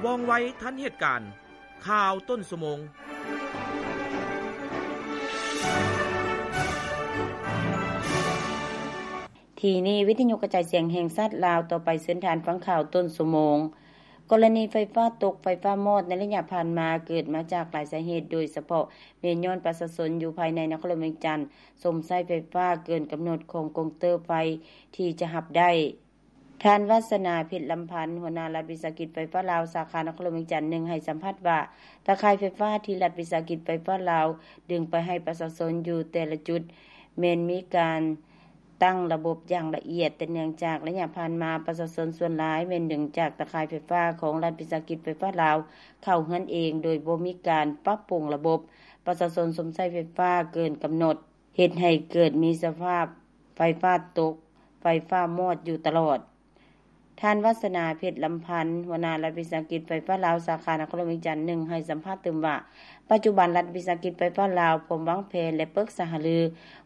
ວ່ອງໄວທັນເຫດການ. ຂ່າວຕົ້ນຊົ່ວໂມງ. ທີ່ນີ້ ວິທະຍຸກະຈາຍສຽງແຫ່ງຊາດລາວ. ຕໍ່ໄປເຊີນທ່ານຟັງຂ່າວຕົ້ນຊົ່ວໂມງ. ກໍລະນີໄຟຟ້າຕົກ, ໄຟຟ້າມອດໃນໄລຍະຜ່ານມາ ເກີດມາຈາກຫຼາຍສາເຫດ, ໂດຍສະເພາະແມ່ນຍ້ອນປະຊາຊົນຢູ່ພາຍໃນນະຄອນຫຼວງວຽງຈັນ ຊົມໃຊ້ໄຟຟ້າເກີນກຳນົດຂອງກົງເຕີໄຟທີ່ຈະຮັບໄດ້. ທ່ານ ວັດສະໜາ ເພັດລຳພັນ ຫົວໜ້າລັດວິສາຫະກິດໄຟຟ້າລາວ ສາຂານະຄອນຫຼວງວຽງຈັນໜຶ່ງ ໃຫ້ສຳພາດວ່າ ຕາຂ່າຍໄຟຟ້າທີ່ລັດວິສາຫະກິດໄຟຟ້າລາວດຶງໄປໃຫ້ປະຊາຊົນຢູ່ແຕ່ລະຈຸດ ແມ່ນມີການ ຕັ້ງລະບົບຢ່າງລະອຽດ, ແຕ່ເນື່ອງຈາກໄລຍະຜ່ານມາ ປະຊາຊົນສ່ວນຫຼາຍແມ່ນດຶງຈາກຕາຂ່າຍໄຟຟ້າຂອງລັດວິສາຫະກິດໄຟຟ້າລາວເຂົ້າເຮືອນເອງ ໂດຍບໍ່ມີການປັບປຸງລະບົບ, ປະຊາຊົນຊົມໃຊ້ໄຟຟ້າເກີນກຳນົດ, ເຮັດໃຫ້ເກີດມີສະພາບໄຟຟ້າຕົກ, ໄຟຟ້າມອດຢູ່ຕະຫຼອດ. ທ່ານ ວັດສະໜາ ເພັດລຳພັນ ຫົວໜ້າລັດວິສາຫະກິດໄຟຟ້າລາວ ສາຂານະຄອນຫຼວງວຽງຈັນໜຶ່ງ ໃຫ້ສຳພາດຕື່ມວ່າ ປັດຈຸບັນລັດວິສາຫະກິດໄຟຟ້າລາວ ພ້ອມວາງແຜນ ແລະ ປຶກສາຫາລື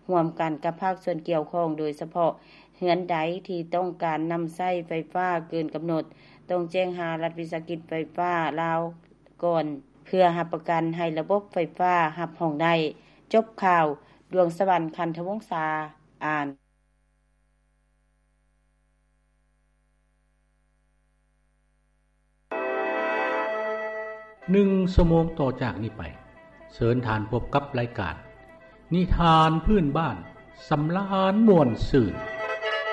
ຮ່ວມກັນກັບພາກສ່ວນກ່ຽວຂ້ອງ, ໂດຍສະເພາະເຮືອນໃດທີ່ຕ້ອງການນຳໃຊ້ໄຟຟ້າເກີນກຳນົດ ຕ້ອງແຈ້ງຫາລັດວິສາຫະກິດໄຟຟ້າລາວກ່ອນ ເພື່ອຮັບປະກັນໃຫ້ລະບົບໄຟຟ້າຮັບຮອງໄດ້. ຈົບຂ່າວ. ດວງສະຫວັນ ຄັນທະວົງສາ ອ່ານ. ໜຶ່ງຊົ່ວໂມງຕໍ່ຈາກນີ້ໄປ, ເຊີນທ່ານພົບກັບລາຍການນິທານພື້ນບ້ານ ສຳລານມ່ວນຊື່ນ.